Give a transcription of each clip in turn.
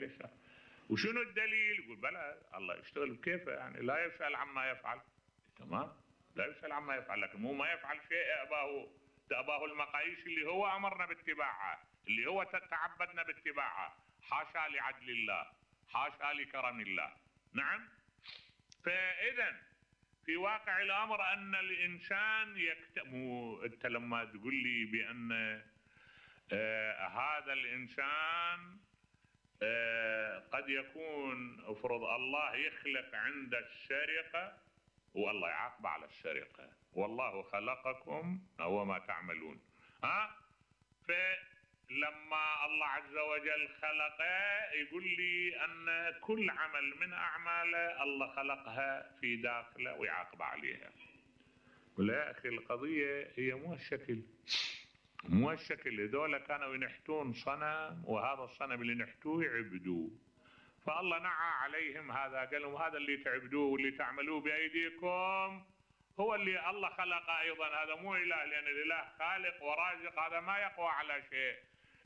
يشاء. وشنو الدليل؟ يقول بلى الله يشتغل بكيفه، يعني لا يسأل عما يفعل. تمام، لا يسأل عما يفعل، لكن مو ما يفعل شيء تأباه المقاييس اللي هو أمرنا باتباعها، اللي هو تعبدنا باتباعها. حاشا لعدل الله، حاشا لكرم الله. نعم. فإذا في واقع الأمر أن الإنسان أنت لما تقول لي بأن هذا الإنسان قد يكون افرض الله يخلق عند السرقة والله يعاقب على السرقة، والله خلقكم وما تعملون. فلما الله عز وجل خلقه يقول لي أن كل عمل من أعماله الله خلقها في داخله ويعاقب عليها. قل يا أخي القضية هي مو الشكل. هذول كانوا ينحتون صنم، وهذا الصنم اللي نحتوه يعبدوه، فالله نعى عليهم هذا، قال لهم هذا اللي تعبدوه واللي تعملوه بأيديكم هو اللي الله خلقه أيضا. هذا مو إله، لأن الإله خالق ورازق، هذا ما يقوى على شيء.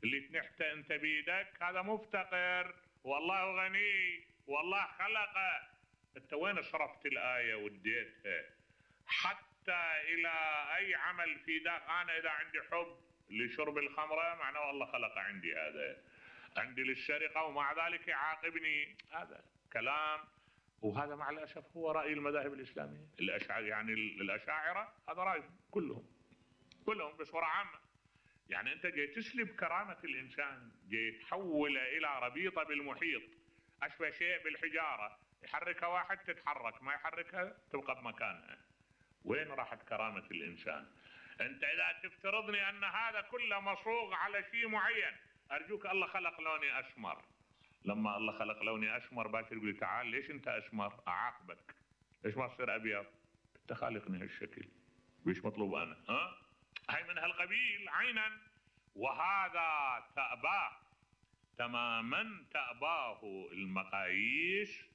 اللي تنحته أنت بيدك هذا مفتقر، والله غني، والله خلقه. أنت وين صرفت الآية وديتها حتى إلى أي عمل في داخل؟ أنا إذا عندي حب لشرب الخمرة معناه الله خلق عندي هذا، عندي للسرقة ومع ذلك يعاقبني. هذا كلام، وهذا مع الأسف هو رأي المذاهب الإسلامية. يعني الأشاعرة هذا رأيهم كلهم بصورة عامة. يعني أنت جاي تسلب كرامة الإنسان، جاي تحوله إلى ربيطة بالمحيط، أشبه شيء بالحجارة، يحركها واحد تتحرك، ما يحركها تبقى بمكانها. وين راحت كرامة الإنسان؟ أنت إذا تفترضني أن هذا كله مصوغ على شيء معين، أرجوك الله خلق لوني أسمر. لما الله خلق لوني أسمر باشر يقول لي تعال ليش أنت أسمر؟ أعاقبك. ليش ما تصير أبيض؟ أنت خالقني هالشكل، ويش مطلوب أنا؟ هاي من هالقبيل عينا. وهذا تأباه تماما، تأباه المقاييس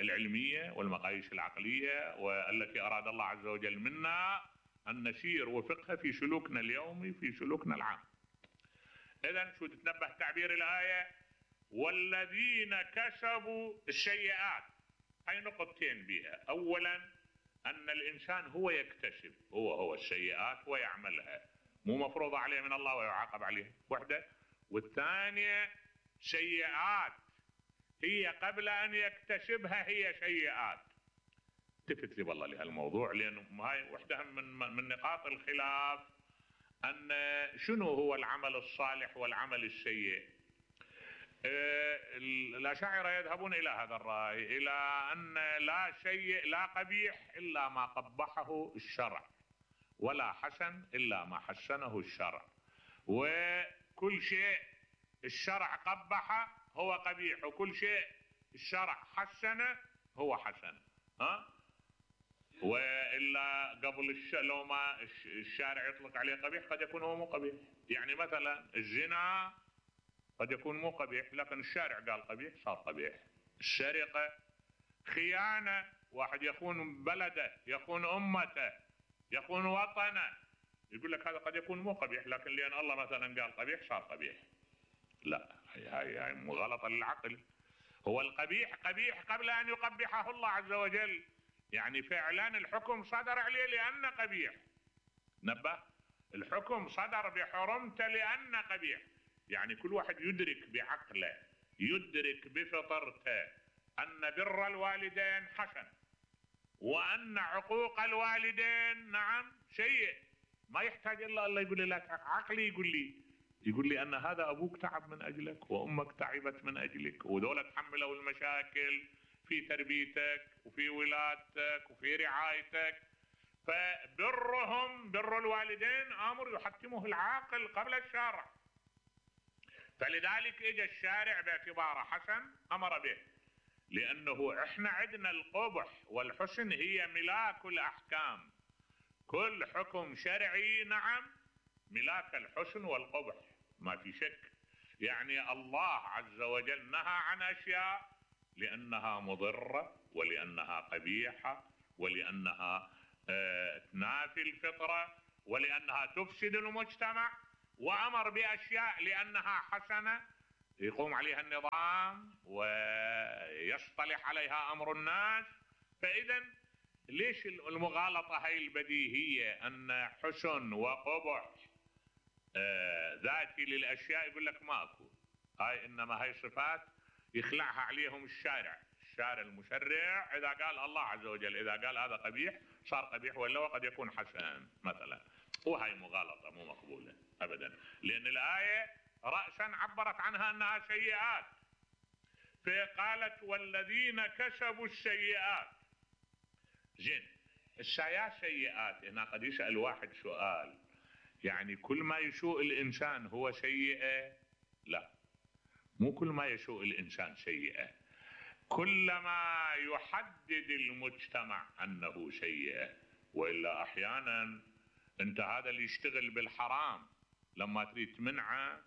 العلمية والمقاييس العقلية، والتي أراد الله عز وجل منا أن نسير وفقها في سلوكنا اليومي، في سلوكنا العام. إذن شو تتنبه تعبير الآية؟ والذين كسبوا السيئات. هاي نقطتين بها. أولا أن الإنسان هو يكتسب، هو السيئات ويعملها، مو مفروضة عليه من الله ويعاقب عليها، وحدة. والثانية سيئات هي قبل أن يكتسبها هي سيئات. التفت لي والله لهالموضوع، لأنه هاي وحدة من نقاط الخلاف، أن شنو هو العمل الصالح والعمل السيء. الأشاعرة يذهبون إلى هذا الرأي، إلى أن لا شيء لا قبيح إلا ما قبحه الشرع، ولا حسن إلا ما حسنه الشرع، وكل شيء الشرع قبحه هو قبيح، وكل شيء الشرع حسنه هو حسن. وإلا قبل لو ما الشارع يطلق عليه قبيح قد يكون هو مو قبيح. يعني مثلا الزنا قد يكون مو قبيح، لكن الشارع قال قبيح صار قبيح. السرقة، خيانة، واحد يخون بلده، يخون أمته، يخون وطنه، يقول لك هذا قد يكون مو قبيح، لكن لأن الله مثلا قال قبيح صار قبيح. لا، هاي مغالطة للعقل. هو القبيح قبيح قبل أن يقبحه الله عز وجل. يعني فعلا الحكم صدر عليه لأنه قبيح. نبه، الحكم صدر بحرمته لأنه قبيح. يعني كل واحد يدرك بعقله، يدرك بفطرته أن بر الوالدين حسن، وأن عقوق الوالدين نعم سيء. ما يحتاج إلا الله يقول لي لا، عقلي يقول لي أن هذا أبوك تعب من أجلك، وأمك تعبت من أجلك، ودولة تحملوا المشاكل في تربيتك وفي ولادتك وفي رعايتك. فبرهم، بر الوالدين أمر يحتمه العاقل قبل الشارع. فلذلك اجى الشارع باعتباره حسن أمر به، لأنه احنا عندنا القبح والحسن هي ملاك الأحكام. كل حكم شرعي نعم ملاك الحسن والقبح، ما في شك. يعني الله عز وجل نهى عن أشياء لأنها مضرة، ولأنها قبيحة، ولأنها تنافي الفطرة، ولأنها تفسد المجتمع، وأمر بأشياء لأنها حسنة يقوم عليها النظام ويصطلح عليها أمر الناس. فإذا ليش المغالطة هاي البديهية أن حسن وقبح ذاتي للأشياء يقول لك ماكو، هاي إنما هاي صفات يخلعها عليهم الشارع المشرع. إذا قال الله عز وجل إذا قال هذا قبيح صار قبيح، ولا وقد يكون حسن مثلا. وهي مغالطة مو مقبولة أبدا، لأن الآية رأسا عبرت عنها أنها سيئات، فقالت والذين كسبوا السيئات. زين، سيئات هنا قد يسأل واحد سؤال، يعني كل ما يسوء الإنسان هو سيئة؟ لا، مو كل ما يسوء الإنسان سيئة، كلما يحدد المجتمع أنه سيئة. وإلا أحيانا أنت هذا اللي يشتغل بالحرام لما تريد تمنعه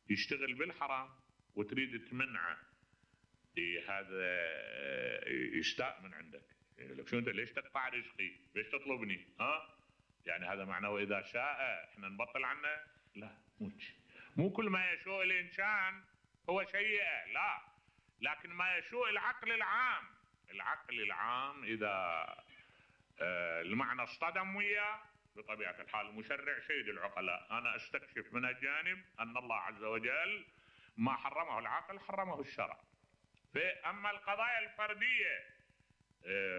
يشتغل بالحرام وتريد تمنعه، هذا يستاء من عندك. لك شو أنت ليش تقطع رزقي؟ ليش تطلبني؟ يعني هذا معناه وإذا شاء احنا نبطل عنه؟ لا، مو كل ما يسوء الإنسان هو سيئة، لا، لكن ما يسوء العقل العام إذا المعنى اصطدم وياه بطبيعة الحال. المشرع سيد العقلاء، أنا أستكشف من الجانب أن الله عز وجل ما حرمه العقل حرمه الشرع. فأما القضايا الفردية،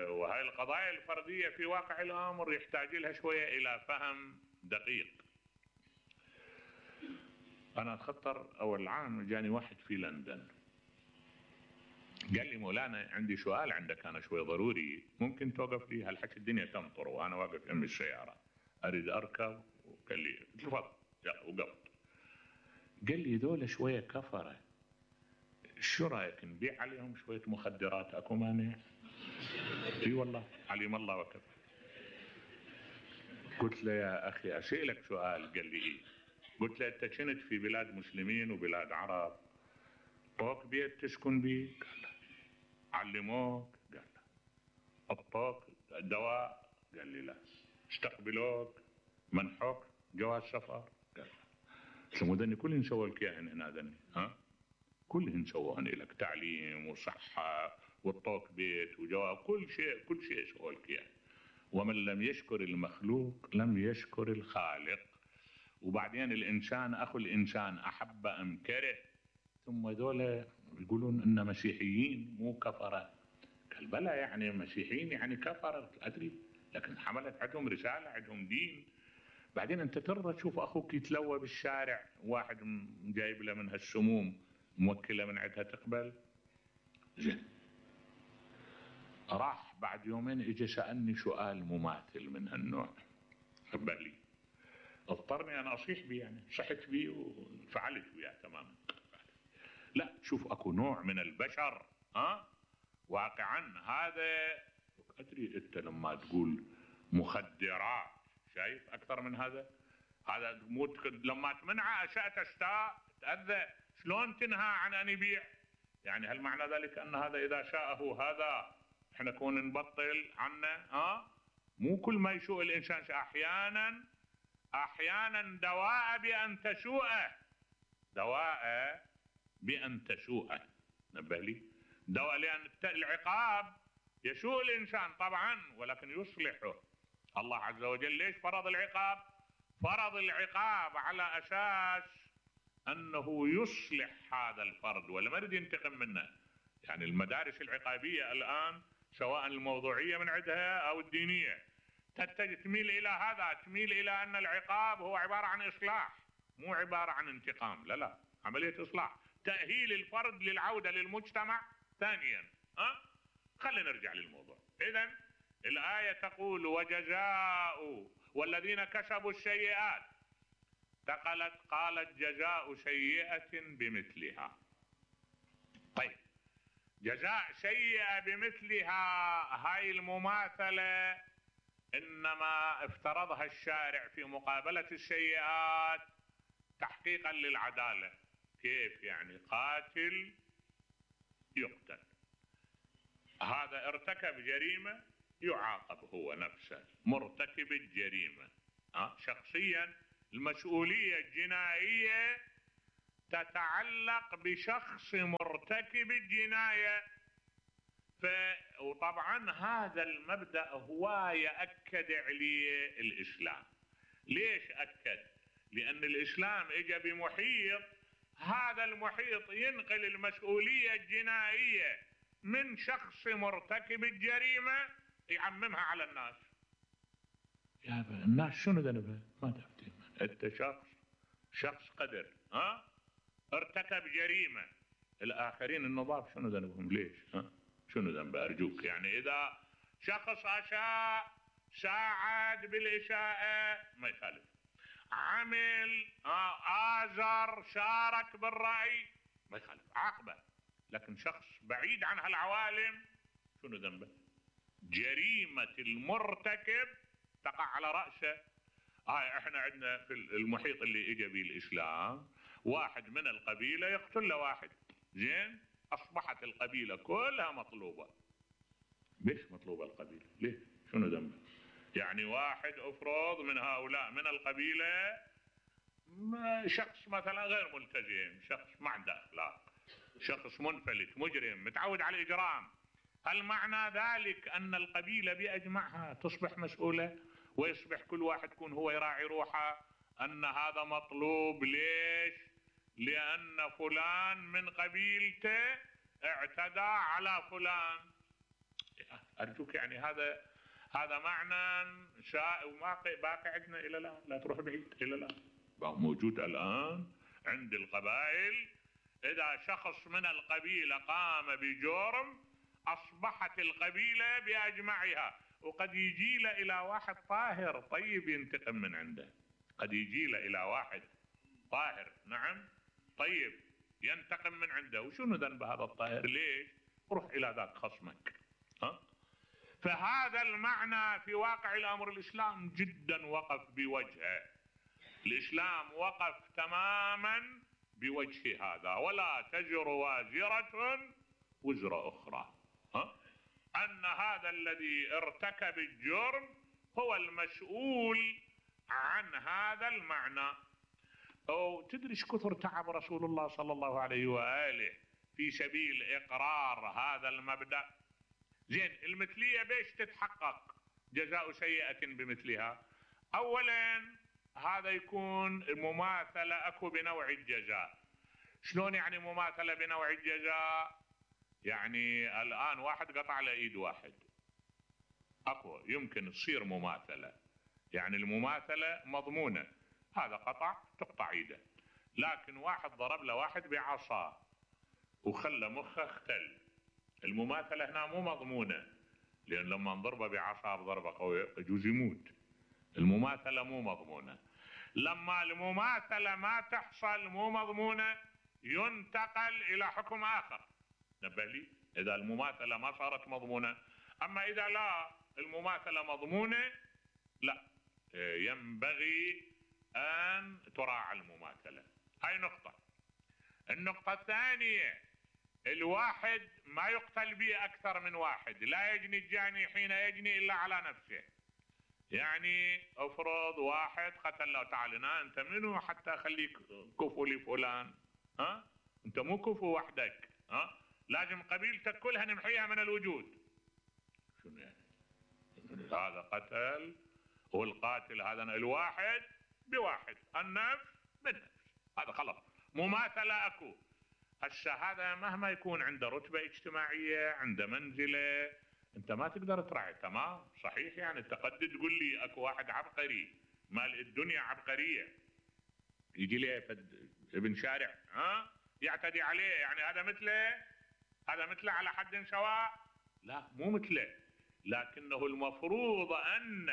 وهي القضايا الفردية في واقع الأمر يحتاج لها شوية إلى فهم دقيق. أنا أتخطر أول عام جاني واحد في لندن قال لي مولانا عندي سؤال عندك أنا شوي ضروري، ممكن توقف لي؟ هالحكي الدنيا تمطر وأنا واقف جنب السيارة أريد أركب. وقال لي تفضل، وقفت. قال لي ذولا شوية كفرة، شو رأيك نبيع عليهم شوية مخدرات؟ أكو مانع؟ اي والله عليم الله وكفى. قلت له يا أخي أسألك سؤال. قال لي إيه؟ قلت له أنت كنت في بلاد مسلمين وبلاد عرب، طوق بيت تسكن بيه؟ قال لا. علموك؟ قال لا. الطوق دواء؟ قال لي لا. استقبلوك؟ منحوك جواز سفر؟ قال لا. قلت له مو كلهن سووا لك اياهن هنا ذني؟ كلهن سووهن لك، تعليم وصحة والطوق بيت وجواب، كل شيء سووا لك اياه. ومن لم يشكر المخلوق لم يشكر الخالق. وبعدين الإنسان أخو الإنسان أحب أم كره. ثم ذولا يقولون إن مسيحيين مو كفرة. قال بلى، يعني مسيحيين يعني كفرة أدري، لكن حملت عندهم رسالة، عندهم دين. بعدين أنت ترى تشوف أخوك يتلوى بالشارع، واحد جايب له من هالسموم موكلة من عندها تقبل؟ زين. راح بعد يومين اجى سألني سؤال مماثل من هالنوع بالي، اضطرني انا اصيح بيه، يعني صحت بيه وفعلت وياه تماما. لا، شوف اكو نوع من البشر واقعا هذا ادري. انت لما تقول مخدرات شايف اكثر من هذا لما تمنعه اشياء تشتاء تأذى، شلون تنهى عن ان يبيع؟ يعني هل معنى ذلك ان هذا اذا شاءه هذا احنا نكون نبطل عنه؟ مو كل ما يسوء الانسان. احيانا دواء بان تسوءه، نبه لي. دواء، لان العقاب يسوء الانسان طبعا ولكن يصلحه الله عز وجل. ليش فرض العقاب؟ فرض العقاب على اساس انه يصلح هذا الفرد ولا ما يريد ينتقم منه. يعني المدارس العقابية الآن سواء الموضوعية من عندها أو الدينية تميل إلى هذا، تميل إلى أن العقاب هو عبارة عن إصلاح، مو عبارة عن انتقام. لا، عملية إصلاح، تأهيل الفرد للعودة للمجتمع ثانيا. خلينا نرجع للموضوع. إذن الآية تقول وجزاء والذين كسبوا السيئات، قالت جزاء سيئة بمثلها. طيب، جزاء سيئة بمثلها هاي المماثلة إنما افترضها الشارع في مقابلة السيئات تحقيقا للعدالة. كيف يعني؟ قاتل يقتل، هذا ارتكب جريمة يعاقب هو نفسه مرتكب الجريمة. شخصيا المسؤولية الجنائية تتعلق بشخص مرتكب الجناية. وطبعا هذا المبدأ هو يأكد عليه الإسلام. ليش أكد؟ لأن الإسلام اجى بمحيط، هذا المحيط ينقل المسؤولية الجنائية من شخص مرتكب الجريمة يعممها على الناس. يا الناس شنو ذنبها؟ ما تفتهم. انت شخص قدر ارتكب جريمة، الآخرين النظاف شنو ذنبهم؟ ليش؟ شنو ذنبه؟ أرجوك. يعني إذا شخص أساء، ساعد بالإساءة ما يخالف، عمل آزر، شارك بالرأي ما يخالف، عاقبه. لكن شخص بعيد عن هالعوالم شنو ذنبه؟ جريمة المرتكب تقع على رأسه. احنا عندنا في المحيط اللي اجى به الإسلام واحد من القبيلة يقتل له واحد، زين، أصبحت القبيلة كلها مطلوبة. ليش مطلوبة القبيلة؟ ليه؟ شنو ذنبه؟ يعني واحد افرض من هؤلاء من القبيلة شخص مثلا غير ملتزم، شخص ما عنده أخلاق، شخص منفلت، مجرم، متعود على الإجرام، هل معنى ذلك أن القبيلة بأجمعها تصبح مسؤولة ويصبح كل واحد يكون هو يراعي روحه أن هذا مطلوب؟ ليش؟ لأن فلان من قبيلته اعتدى على فلان. أرجوك، يعني هذا معنى باقي عندنا إلى الآن، لا تروح بعيد، إلى الآن موجود الآن عند القبائل. إذا شخص من القبيلة قام بجرم أصبحت القبيلة بأجمعها، وقد يجي له إلى واحد طاهر طيب ينتقم من عنده، قد يجي له إلى واحد طاهر، نعم، طيب ينتقم من عنده. وشنو ذنب هذا الطاهر؟ ليش؟ روح إلى ذاك خصمك. فهذا المعنى في واقع الأمر الإسلام جدا وقف بوجهه. الإسلام وقف تماما بوجه هذا، ولا تزر وازرة وزر أخرى. أن هذا الذي ارتكب الجرم هو المسؤول عن هذا المعنى. أو تدري ايش كثر تعب رسول الله صلى الله عليه وآله في سبيل إقرار هذا المبدأ؟ زين، المثلية بيش تتحقق؟ جزاء سيئة بمثلها. أولا هذا يكون مماثلة أكو بنوع الجزاء. شلون يعني مماثلة بنوع الجزاء؟ يعني الآن واحد قطع له إيد واحد، أكو يمكن تصير مماثلة، يعني المماثلة مضمونة، هذا قطع تقطع إيده. لكن واحد ضرب له واحد بعصا وخلى مخه اختل، المماثلة هنا مو مضمونة، لأن لما نضربه بعصا بضربة قوية يجوز يموت. المماثلة مو مضمونة. لما المماثلة ما تحصل مو مضمونة ينتقل إلى حكم آخر. نبه لي، إذا المماثلة ما صارت مضمونة. أما إذا لا المماثلة مضمونة، لا، ينبغي أن تراعى المماثلة. هاي نقطة. النقطة الثانية، الواحد ما يقتل به أكثر من واحد، لا يجني الجاني حين يجني إلا على نفسه. يعني افرض واحد قتل له، تعال انت منو حتى اخليك كفو لفلان؟ انت مو كفو وحدك، لازم قبيلتك كلها نمحيها من الوجود. شنو يعني؟ هذا قتل، والقاتل هذا الواحد بواحد، النفس بالنفس، هذا خلاص مماثلة اكو. هسه هذا مهما يكون عنده رتبة اجتماعية، عنده منزلة، انت ما تقدر تراعي. تمام، صحيح. يعني انت قد تقول لي اكو واحد عبقري، مال الدنيا عبقرية، يجي لي ابن شارع يعتدي عليه، يعني هذا مثله على حد سواء؟ لا، مو مثله. لكنه المفروض ان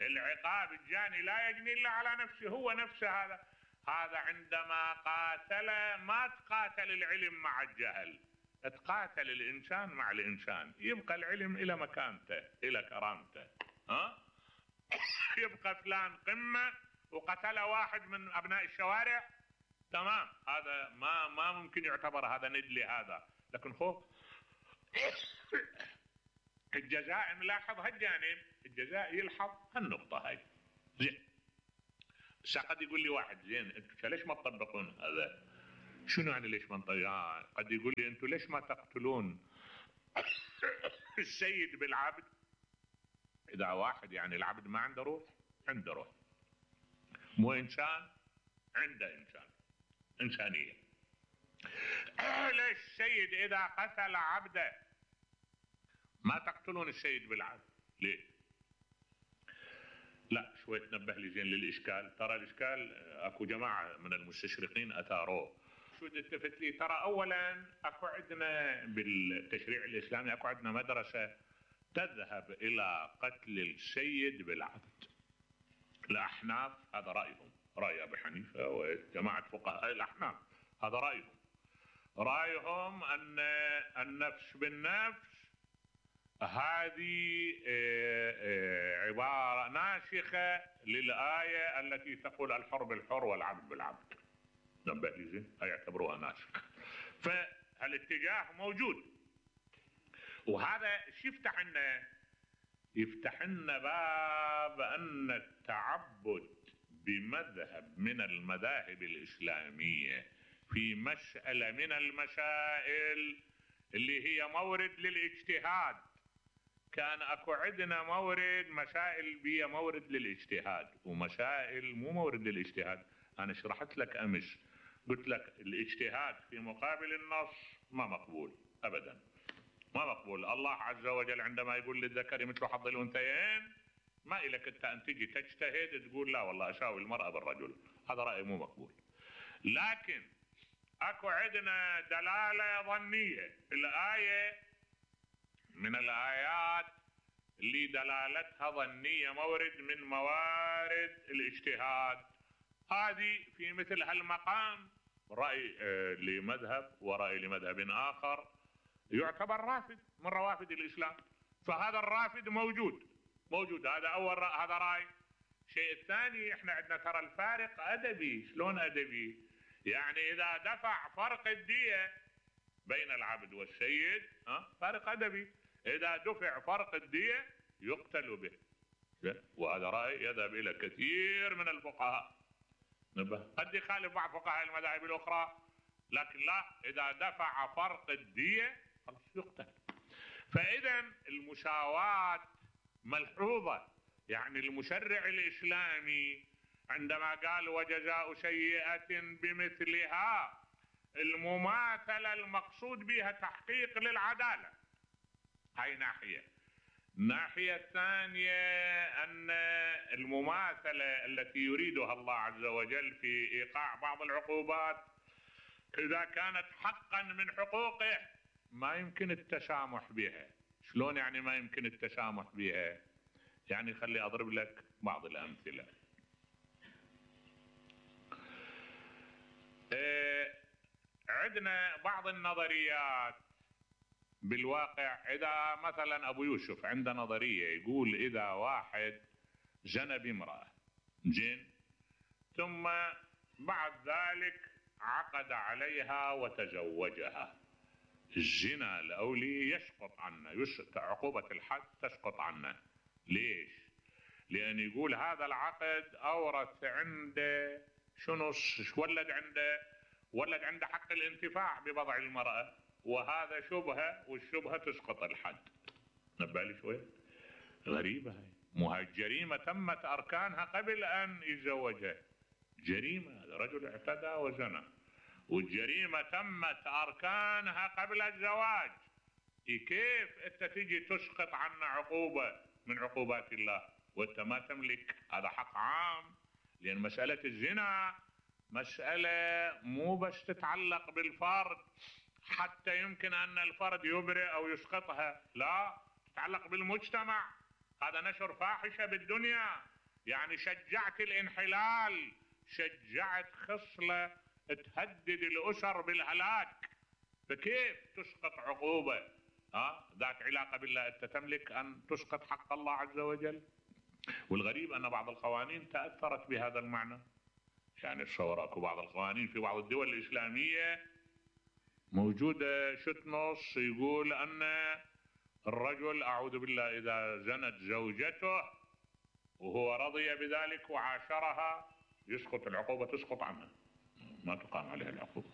العقاب الجاني لا يجني الا على نفسه، هو نفسه. هذا عندما قاتل ما تقاتل العلم مع الجهل، تقاتل الإنسان مع الإنسان، يبقى العلم إلى مكانته إلى كرامته. يبقى فلان قمة وقتل واحد من أبناء الشوارع، تمام، هذا ما ممكن يعتبر هذا ندلي هذا. لكن خوف الجزاء نلاحظ هالجانب، الجزاء يلحظ هالنقطة هاي. زين، قد يقول لي واحد، زين انتم ليش ما تطبقون هذا؟ شنو يعني ليش ما قد يقول لي انتم ليش ما تقتلون السيد بالعبد؟ اذا واحد يعني العبد ما عنده روح، عنده روح، مو انسان، عنده انسانيه. ليش السيد اذا قتل عبده ما تقتلون السيد بالعبد؟ ليه؟ لا شوي تنبه لي زين للاشكال. ترى الاشكال اكو جماعه من المستشرقين اثاروه. شو التفت لي؟ ترى اولا اكو عندنا بالتشريع الاسلامي اكو عندنا مدرسه تذهب الى قتل السيد بالعبد. الاحناف هذا رايهم، راي ابي حنيفه وجماعه فقهاء الاحناف هذا رايهم ان النفس بالنفس هذه عباره ناسخه للايه التي تقول الحر بالحر والعبد بالعبد. نبه لي زين، يعتبروها ناسخه. فالاتجاه موجود، وهذا شو يفتح لنا؟ يفتح لنا باب ان التعبد بمذهب من المذاهب الاسلاميه في مساله من المسائل اللي هي مورد للاجتهاد. كان اكو عندنا مسائل بيها مورد للاجتهاد ومسائل مو مورد للاجتهاد. انا شرحت لك امس، قلت لك الاجتهاد في مقابل النص ما مقبول ابدا، ما مقبول. الله عز وجل عندما يقول للذكر مثل حظ الانثيين، ما إلك انت ان تجي تجتهد تقول لا والله اساوي المرأة بالرجل، هذا رأي مو مقبول. لكن اكو عندنا دلالة ظنية، الآية من الآيات اللي دلالتها ظنية مورد من موارد الاجتهاد، هذه في مثل هالمقام رأي لمذهب ورأي لمذهب آخر يعتبر رافد من روافد الإسلام. فهذا الرافد موجود. هذا أول هذا رأي. الشيء الثاني، احنا عندنا ترى الفارق أدبي. شلون أدبي؟ يعني إذا دفع فرق الدية بين العبد والسيد فارق أدبي، إذا دفع فرق الدية يقتل به. وهذا رأي يذهب إلى كثير من الفقهاء، قد يخالف بعض فقهاء المذاهب الأخرى، لكن لا، إذا دفع فرق الدية خلاص يقتل. فإذا المساواة ملحوظة. يعني المشرع الإسلامي عندما قال وجزاء سيئة بمثلها، المماثلة المقصود بها تحقيق للعدالة، هاي ناحية. الناحية الثانية أن المماثلة التي يريدها الله عز وجل في إيقاع بعض العقوبات إذا كانت حقا من حقوقه ما يمكن التسامح بها. شلون يعني ما يمكن التسامح بها؟ يعني خلي أضرب لك بعض الأمثلة. عندنا بعض النظريات بالواقع. إذا مثلا أبو يوسف عنده نظرية يقول إذا واحد زنى بامرأة زين، ثم بعد ذلك عقد عليها وتزوجها، الزنا الأولي يسقط عنه، عقوبة الحد تسقط عنه. ليش؟ لأن يقول هذا العقد أورث عنده شنو، ولد عنده حق الانتفاع ببضع المرأة، وهذا شبهة، والشبهة تسقط الحد. نبه لي شوي، غريبة هاي. مو هاي الجريمة تمت أركانها قبل أن يتزوجها، جريمة، هذا رجل اعتدى وزنى، والجريمة تمت أركانها قبل الزواج. كيف أنت تجي تسقط عنا عقوبة من عقوبات الله وأنت ما تملك؟ هذا حق عام. لأن مسألة الزنا مسألة مو بس تتعلق بالفرد حتى يمكن أن الفرد يبرئ أو يسقطها، لا، تتعلق بالمجتمع. هذا نشر فاحشة بالدنيا، يعني شجعت الانحلال، شجعت خصلة تهدد الأسر بالهلاك. فكيف تسقط عقوبة ذات علاقة بالله أنت تملك أن تسقط حق الله عز وجل؟ والغريب أن بعض القوانين تأثرت بهذا المعنى. يعني تصور اكو بعض القوانين في بعض الدول الإسلامية موجودة نص يقول أن الرجل أعوذ بالله إذا زنت زوجته وهو رضي بذلك وعاشرها يسقط العقوبة، تسقط عنها، ما تقام عليها العقوبة.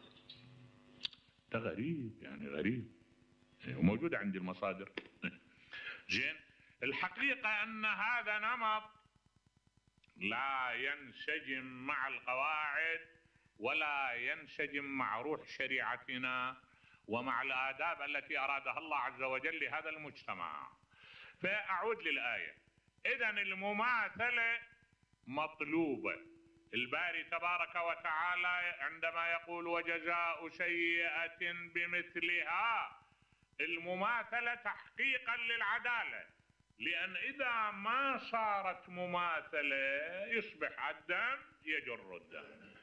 ده غريب، يعني غريب، وموجود عندي المصادر. زين، الحقيقة أن هذا نمط لا ينسجم مع القواعد ولا ينسجم مع روح شريعتنا ومع الآداب التي أرادها الله عز وجل لهذا المجتمع. فأعود للآية. إذن المماثلة مطلوبة. الباري تبارك وتعالى عندما يقول وجزاء سيئة بمثلها، المماثلة تحقيقا للعدالة، لأن إذا ما صارت مماثلة يصبح الدم يجر الدم.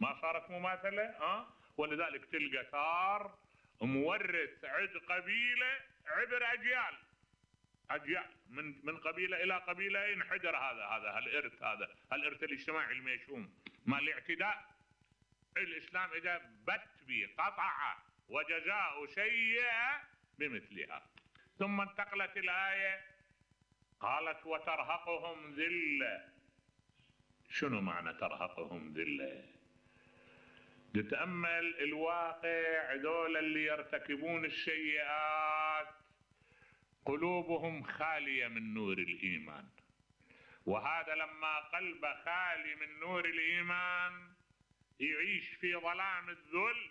ما صارت مماثلة ولذلك تلقى ثار مورث عند قبيلة عبر أجيال من قبيلة إلى قبيلة ينحدر هذا الإرث الاجتماعي المشؤوم مع الاعتداء. الإسلام إذا بت به قطع وجزاء سيئة بمثلها. ثم انتقلت الآية قالت وترهقهم ذلة. شنو معنى ترهقهم ذلة؟ تتأمل الواقع، ذول اللي يرتكبون السيئات قلوبهم خالية من نور الإيمان، وهذا لما قلبه خالي من نور الإيمان يعيش في ظلام الذل،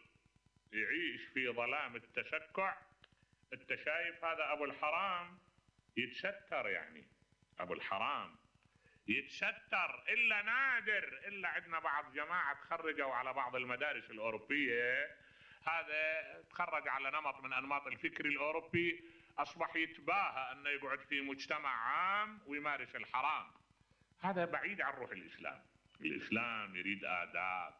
يعيش في ظلام التسكع. انت شايف هذا أبو الحرام يتستر، يعني أبو الحرام يتستر إلا نادر، إلا عندنا بعض جماعة تخرجوا على بعض المدارس الأوروبية، هذا تخرج على نمط من أنماط الفكر الأوروبي، أصبح يتباهى أنه يقعد في مجتمع عام ويمارس الحرام. هذا بعيد عن روح الإسلام. الإسلام يريد آداب،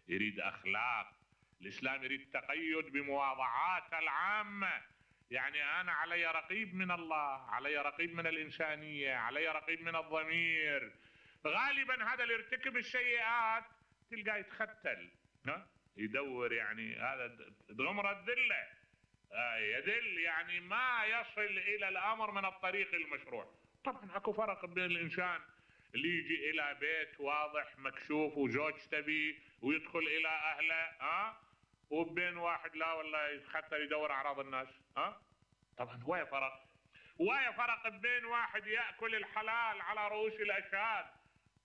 يريد أخلاق، الإسلام يريد تقيد بمواضعات العامة. يعني أنا علي رقيب من الله، علي رقيب من الإنسانية، علي رقيب من الضمير. غالبا هذا اللي يرتكب السيئات تلقاه يتختل، يدور، يعني هذا غمر الذلة، يذل، يعني ما يصل إلى الأمر من الطريق المشروع. طبعا اكو فرق بين الإنسان اللي يجي إلى بيت واضح مكشوف وزوجته بيه ويدخل إلى أهله، وبين واحد لا والله يتختل يدور أعراض الناس. طبعا ويا فرق بين واحد يأكل الحلال على رؤوس الأشهاد،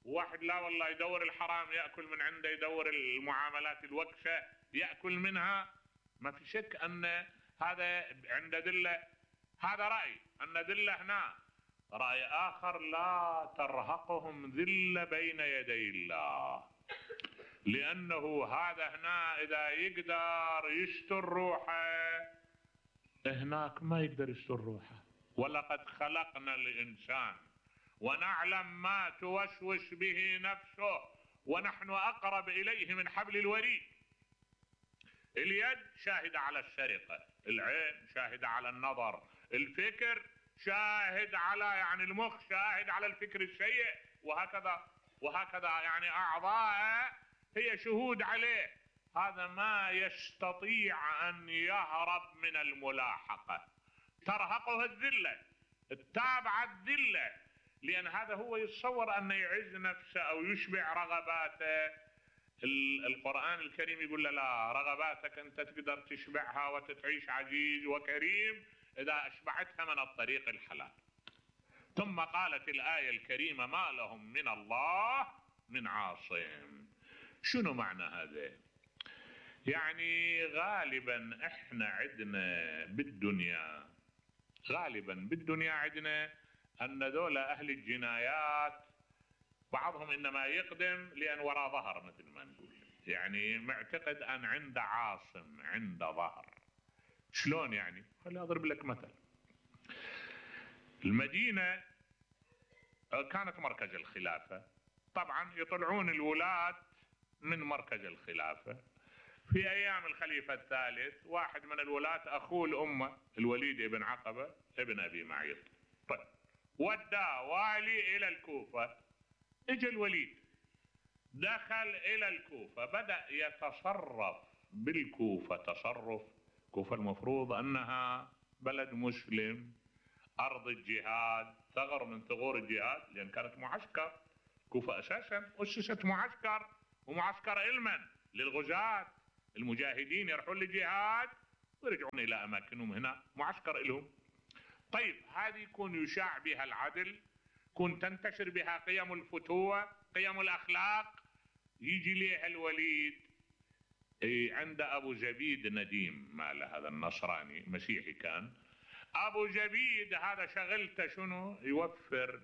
وواحد لا والله يدور الحرام، يأكل من عنده، يدور المعاملات الوكشة يأكل منها. ما في شك أن هذا عند دلة. هذا رأي أن دلة هنا. رأي آخر لا ترهقهم ذلة بين يدي الله، لأنه هذا هنا إذا يقدر يستر روحه هناك ما يقدر يستر روحه. ولقد خلقنا الإنسان ونعلم ما توسوس به نفسه ونحن أقرب إليه من حبل الوريد. اليد شاهدة على السرقة، العين شاهدة على النظر، الفكر شاهد على، يعني المخ شاهد على الفكر السيء، وهكذا يعني أعضاء هي شهود عليه. هذا ما يستطيع أن يهرب من الملاحقة. ترهقه الذلة، التابعة الذلة، لأن هذا هو يتصور أن يعز نفسه أو يشبع رغباته. القرآن الكريم يقول لا، رغباتك أنت تقدر تشبعها وتتعيش عزيز وكريم إذا أشبعتها من الطريق الحلال. ثم قالت الآية الكريمة ما لهم من الله من عاصم. شنو معنى هذا؟ يعني غالبا احنا عندنا بالدنيا، عندنا أن ذولا أهل الجنايات بعضهم إنما يقدم لأن وراء ظهر، مثل ما نقول، يعني معتقد أن عنده عاصم، عنده ظهر. شلون يعني؟ خليني أضرب لك مثل. المدينة كانت مركز الخلافة، طبعا يطلعون الولاة من مركز الخلافة. في أيام الخليفة الثالث واحد من الولاة أخوه الأمة الوليد بن عقبة ابن أبي معيط، طيب ودى والي إلى الكوفة. اجى الوليد دخل إلى الكوفة، بدأ يتصرف بالكوفة تصرف. كوفة المفروض أنها بلد مسلم، أرض الجهاد، ثغر من ثغور الجهاد، لأن كانت معسكر. كوفة أساسا أسست معسكر، ومعسكر علما للغزاة المجاهدين يروحون للجهاد ويرجعون إلى أماكنهم هنا معسكر لهم. طيب هذه يكون يشاع بها العدل، يكون تنتشر بها قيم الفتوة، قيم الأخلاق. يجي ليها الوليد عند أبو زبيد نديم ماله، هذا النصراني مسيحي كان. أبو زبيد هذا شغلته شنو؟ يوفر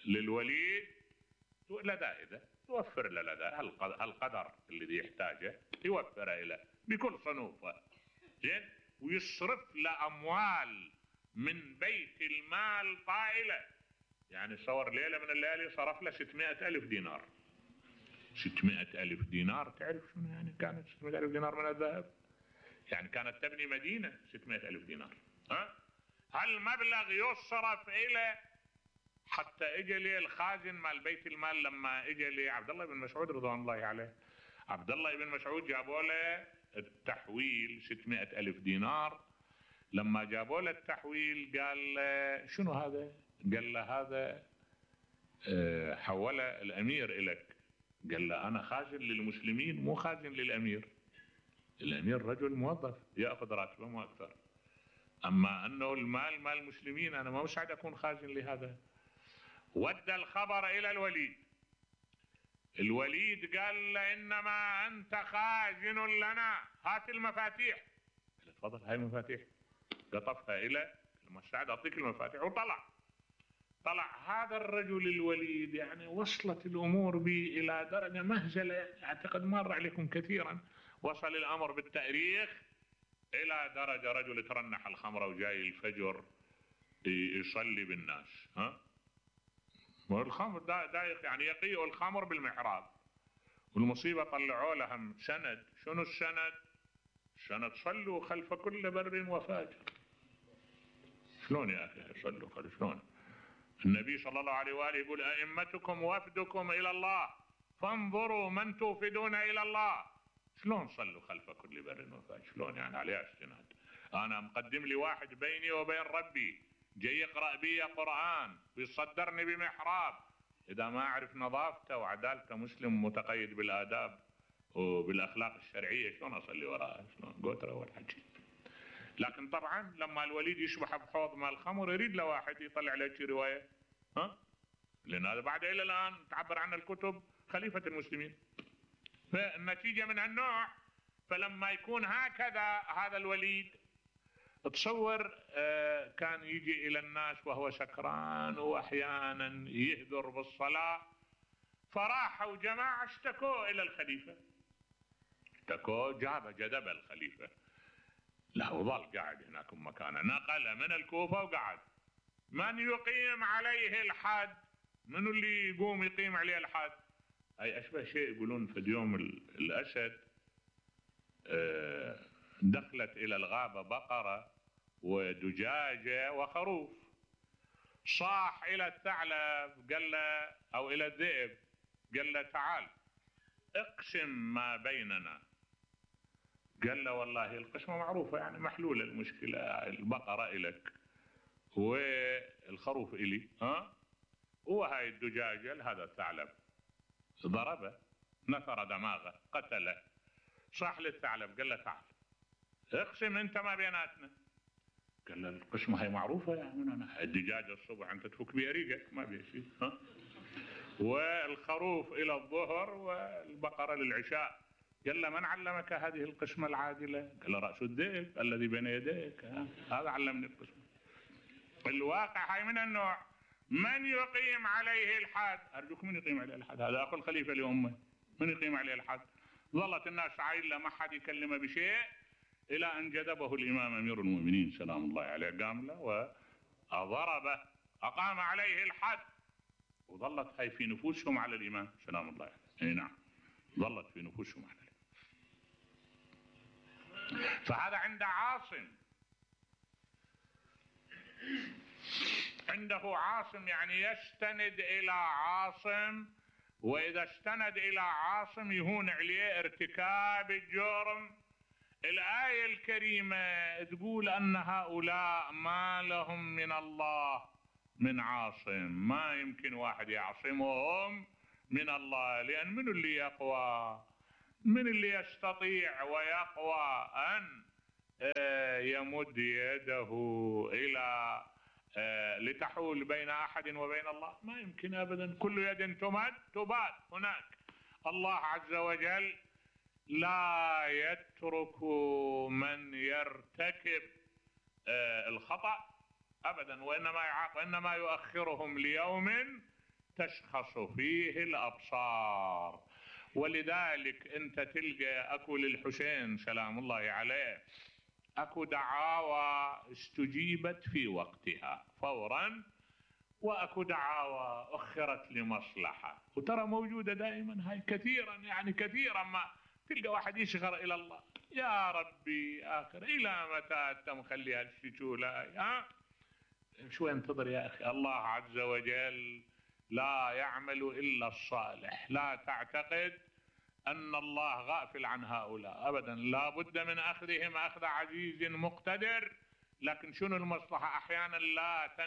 للوليد لذائذ، يوفر له لذائذ القدر الذي يحتاجه يوفره له بكل صنوفه، زين، ويصرف له أموال من بيت المال طائلة. يعني صور ليلة من الليالي صرف له 600,000 دينار. 600,000 دينار تعرف شنو يعني؟ كانت 600,000 دينار من الذهب، يعني كانت تبني مدينة 600,000 دينار. هالمبلغ يصرف إلى حتى اجى لي الخازن مال بيت المال، لما اجى لي عبد الله بن مسعود رضوان الله عليه، عبد الله بن مسعود جابوا له التحويل 600,000 دينار. لما جابوا له التحويل قال له شنو هذا؟ قال له هذا حوله الأمير إلك. قال له أنا خازن للمسلمين مو خازن للأمير. الأمير رجل موظف يأخذ راتبه مو أكثر، أما أنه المال مال المسلمين أنا ما مساعد أكون خازن لهذا. ودى الخبر إلى الوليد. الوليد قال له إنما أنت خازن لنا، هات المفاتيح. قال تفضل هاي المفاتيح. قطفها إلى المساعد، أعطيك المفاتيح. وطلع هذا الرجل الوليد، يعني وصلت الأمور به إلى درجة مهزلة أعتقد مر عليكم كثيرا. وصل الأمر بالتاريخ إلى درجة رجل ترنح الخمرة وجاي الفجر يصلي بالناس، والخمر دايق يعني يقيء الخمر بالمحراب. والمصيبة طلعوا لهم سند. شنو السند؟ سند صلوا خلف كل بر وفاجر. شلون يا أخي صلوا خلف؟ شلون؟ النبي صلى الله عليه وآله يقول أئمتكم وفدكم إلى الله فانظروا من توفدون إلى الله. شلون صلوا خلف كل بر وفاجر؟ شلون يعني عليها استناد؟ أنا مقدم لي واحد بيني وبين ربي جاي يقرأ بي قرآن ويصدرني بمحراب، إذا ما أعرف نظافته وعدالته مسلم متقيد بالآداب وبالأخلاق الشرعية شلون أصلي وراءه؟ شلون قوتره والحكي. لكن طبعا لما الوليد يشبح بحوض مال الخمر يريد له واحد يطلع له شي رواية، لأن هذا بعد إلى الآن تعبر عنه الكتب خليفة المسلمين. فالنتيجة من هالنوع. فلما يكون هكذا هذا الوليد، تصور كان يجي إلى الناس وهو سكران وأحيانا يهذر بالصلاة. فراحوا جماعة اشتكوا إلى الخليفة، اشتكوا جذب الخليفة لا وظل قاعد هناك مكانه. نقل من الكوفة وقعد. من يقيم عليه الحد؟ من اللي يقوم يقيم عليه الحد؟ أي أشبه شيء يقولون في يوم الأسد دخلت إلى الغابة بقرة ودجاجة وخروف. صاح إلى الثعلب قال له أو إلى الذئب قال له تعال اقسم ما بيننا. قال له والله القسمة معروفة يعني محلولة المشكلة، البقرة إلك والخروف إلي، وهاي الدجاجة لهذا الثعلب. ضربه نثر دماغه قتله. صاح للثعلب قال له تعال اقسم انت ما بيناتنا. قال له القسمة هي معروفة يعني أنا الدجاجة الصبح انت تفك بها ريقك ما بيها شيء، والخروف إلى الظهر والبقرة للعشاء. قال له من علمك هذه القسمة العادلة؟ قال له رأس الذئب الذي بين يديك، هذا علمني القسمة. الواقع هاي من النوع. من يقيم عليه الحد؟ أرجوك من يقيم عليه الحد؟ هذا أخو الخليفة لأمه، من يقيم عليه الحد؟ ظلت الناس عايلة ما حد يكلمه بشيء إلى أن جذبه الإمام أمير المؤمنين سلام الله عليه، قام له وضربه أقام عليه الحد. وظلت هاي في نفوسهم على الإمام سلام الله عليه. أي نعم ظلت في نفوسهم على الإمام. فهذا عند عاصم، عنده عاصم يعني يستند إلى عاصم، وإذا استند إلى عاصم يهون عليه ارتكاب الجرم. الآية الكريمة تقول أن هؤلاء ما لهم من الله من عاصم، ما يمكن واحد يعصمهم من الله، لأن من اللي يقوى؟ من اللي يستطيع ويقوى أن يمد يده إلى لتحول بين أحد وبين الله؟ ما يمكن أبدا. كل يد تمد تباد هناك. الله عز وجل لا يترك من يرتكب الخطأ أبدا، وإنما يؤخرهم ليوم تشخص فيه الأبصار. ولذلك أنت تلقى أكو للحسين سلام الله عليه أكو دعاوى استجيبت في وقتها فورا، وأكو دعاوى أخرت لمصلحة، وترى موجودة دائما هاي كثيرا، يعني كثيرا ما تلقى واحد يشغر إلى الله، يا ربي آخر إلى متى أنت مخلي هالشتولة؟ شو انتظر يا أخي؟ الله عز وجل لا يعمل إلا الصالح. لا تعتقد أن الله غافل عن هؤلاء أبدا، لا بد من أخذهم أخذ عزيز مقتدر. لكن شنو المصلحة؟ أحيانا لا